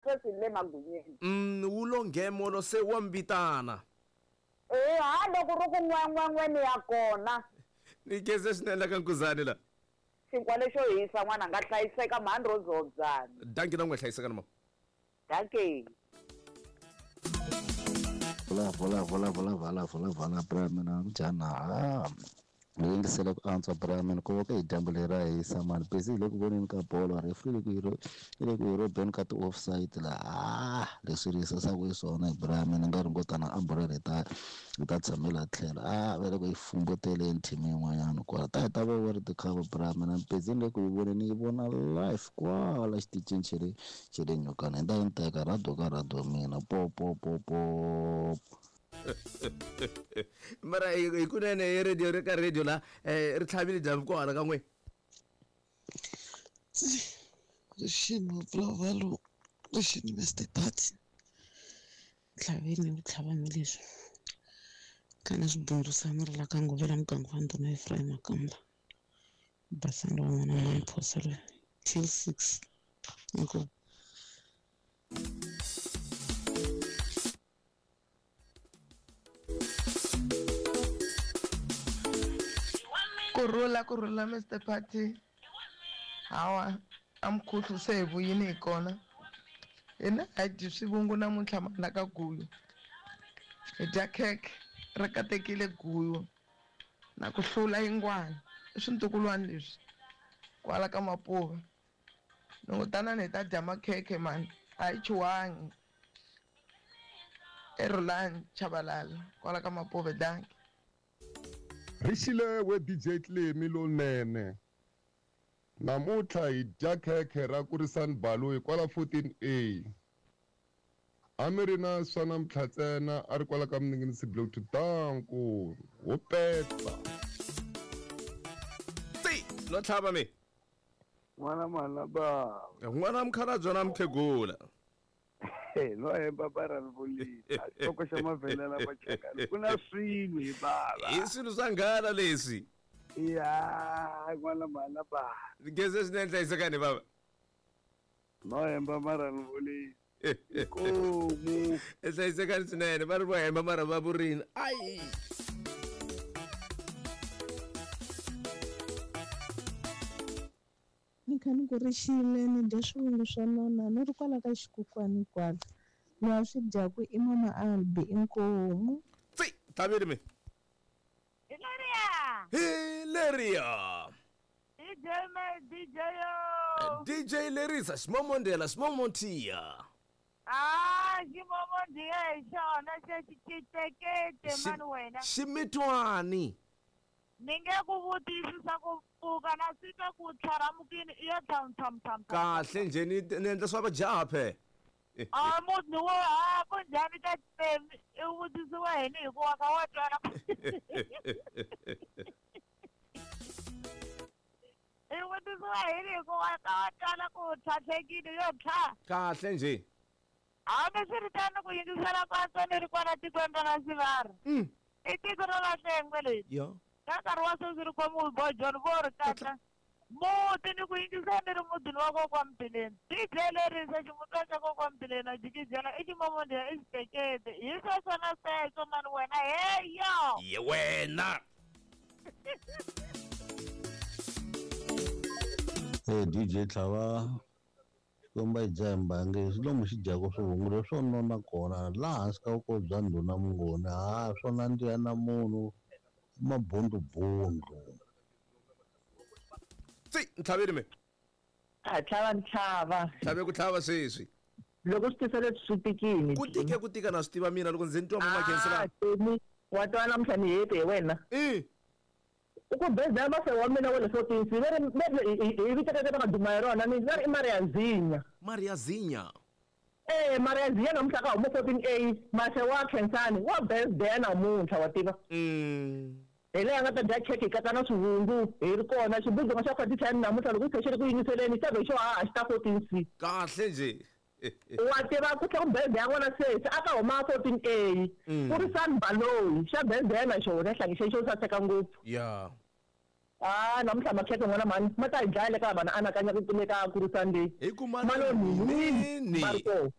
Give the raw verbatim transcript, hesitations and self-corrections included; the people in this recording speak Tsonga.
Sweswi le magunyeni. Mm wu lo nghemolo se wa mbitana. Eh ha loko ri ku n'we n'we n'we ni ya kona. Ni khensa swinene la ka Nkuzani la. Xinkwa lexo hisa n'wana nga hlayiseka mhani ro zodzana. Danki na n'we hlayiseka na mama. Danki. Vola vola vola vola vola vola vola bra mina njhani ni yingisele ku antswa bra mina ku va ka hi dyambu leri ra hisa mani busy hi le ku voneni ka bolo referee le ku yi i le ku yi robeni ka ti-offside la ah leswi ri hisasaka hi swona bra mina nga ri ngo tana umbrella hi ta hi ta tshamela tlhelo ah va le ku yi fumbuteleni team yin'wanyana kwala ta hi ta va World Cup bra mina busy ni le ku yi voneni yi vona live kwala xitichini xa le xa le Nyokana hi ta yi ni teka rado ka rado mina po po po po. Mara hi kunene hi radio ri ka radio la eh ri tlhavile dyambu kwala ka n'we. Rixini bravalo rixini Mister Party tlhaveni ku tlhava mi leswi kana swibundusana ri la ka Ngovela muganga wa ndhuna Ephraim Makamba basanga wa n'wana wa Mphoselo till six inkomu. Kurhula kurhula Mister Party hawa amkhuhlu se hi vuyini hi kona hina a hi dyi swivungu namuntlha mana ka guyu hi dya khekhe ri katekile guyu na ku hlula yingwana i swintukulwana leswi kwala ka Mapuva loko tanani hi ta dya makhekhe mani a hi chuhangi eRulani Chabalala kwala ka Mapuva danki. Rixile we D J Clemi lonene namuntlha hi dya khekhe ra Kurisani Baloyi kwala fourteen A a mi ri na swa namuntlha ntsena a ri kwala ka Mninginisi Block two danku ho petsa ti lo tlhava mi n'wana mhana baba n'wana mukhalabye na mukhegula no hemba bara ri vulile xitoko xa mavelela machakani ku na swilo hi baba i swilo swa nghala leswi ya n'wana mhana baba ngeze swinene hlayisekani baba no hemba mara ni vulile komu hlayisekani swinene va ri vo hemba mara va vurini ayi ni kha ni ku rixile ni dya swivungu swa nona ni ri kwala ka xikukwani kwala loyi a swi dyaku i mama Albi inkomu. Tsi tlhaveli mi hi leriya hi leriya D J me D J yo D J Lerisa ximomondela ximomontiya ah ximomontiya hi xona xexi xitekete mani wena ximitwani ni nge ku vutisi swa ku pfuka na swi twa ku tlharamukini i yo tham tham tham kahle njhe ni ni endla swa vajaha phe a munhu wo ha ku njhani ka temi i vutisiwa hini hikuva ka wa twala i vutisiwa hini hikuva ka wa twala ku tlhatlhekile yo tlha kahle njhe hambi swi ri tano ku yingisela kwatswa ni ri kwala tikweni ra Sivara i tiko ra Lahlengwe leri yo ka nkarhi wa sweswi ri khomiwe bo John vo ri katla muti ni ku yingisela ni ri mutini wa kokwa Mbileni D J Lerisa ximutwa xa kokwa Mbileni a jikijela i ximomondiya i xitekete hi sweswo na sweswo mani wena heyo ye wena Hey D J Tlhava xikomba hi dya hi mbangi swi lomu xi dyaka swivungu leswo nona kona laha hansi ka vukosi bya ndhuna Mungoni ha swo nandziha na munhu mabundubundu. Tsi ntlhaveli mi a tlhava ntlhava tlhave ku tlhava sweswi loko swi tisa leswi swi tikini ku tike ku tika na swi tiva mina loko ndzi ni twa mama khensela wa twa namuntlha ni hete hi wena i u ku bezela mase wa mina wa le fourteen C va ri hi vitekeke va nga duma hi rona ni va ri i Maria Zinya Maria Zinya eh Maria Zinya namuntlha ka huma fourteen A mase wa Khensani wa birthday namuntlha wa tiva mm hi leyi a nga ta dya khekhe hi katsa na swivungu hi ri kona xibundzu xa forty ten namuntlha loko xi ri ku yingiseleni xi ta ve xo haha xi ta fourteen C kahle nje wa tiva ku tlhela ku birthday ya n'wana sesi a ka huma fourteen A ku ri San Baloyi xa birthday na xona hlangi xexo xo saseka ngopfu ya ah namuntlha makhekhe n'wana mhani ma ta hi dlaya le ka vanhu anakanya ku le ka kurisani leyi hi ku malonini ni Marco